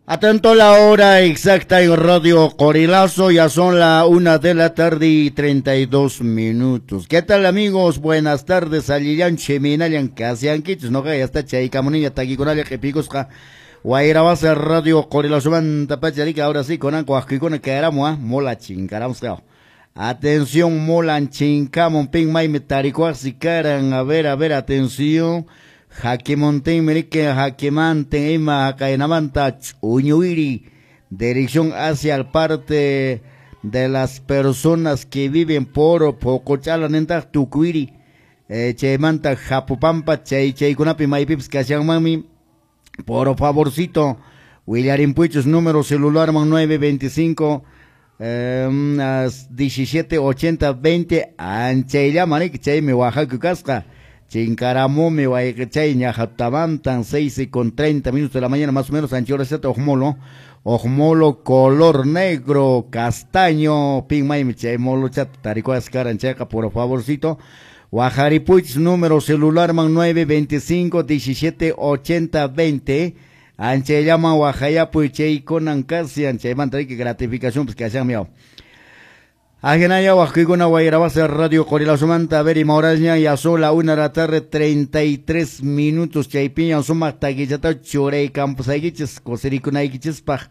Atento la hora exacta en Radio Qorilazo, ya son la 1 de la tarde y 32 minutos. ¿Qué tal, amigos? Buenas tardes, allillan, chiminallan, kasiankichis, no, ya está chaykamuniña takikunalla q'ipikusqa wayrawasa Radio Qorilazomanta pacharika, ahora sí, kunanqa waqkuykuna kayaramu, mola chinkaramusqa. Atención, molan chinkamun, pin maymi tarikuaqsi karan, a ver, atención. Jaquemonten, mirike, Jaquemanten, ima, Jacainamanta, Uñuiri, dirección hacia el parte de las personas que viven por Pocochala, nenta, Tucuiri, Cheymanta, Japupampa, Chay, Chaykunapi, Maypips, Mami, por favorcito, Willarimpuichos, número celular, man 925, 17 80 20, anchaylla, manik, chaymi Oaxaca kasqa. Chinkaramumi wayqichay ñajatamantan 6:30 de la mañana más o menos, anchoraseta ojmolo, ojmolo color negro, castaño, pin maymi chay molo chat tarikuas karan chayqa, por favorcito. Wajaripuich número celular man 925 17 80 20. Anchayllaman wajayapuy chaykunan casi anchaymanta riki gratificación pues kashan miau. Ajinaya waqkuykuna wayrawasa Radio Qorilazomanta, a ver ima horasña, ya son la 1 de la tarde 33 minutos, chaypiña sumaq takichata churay campusaykichis kusirikunaykichispaq.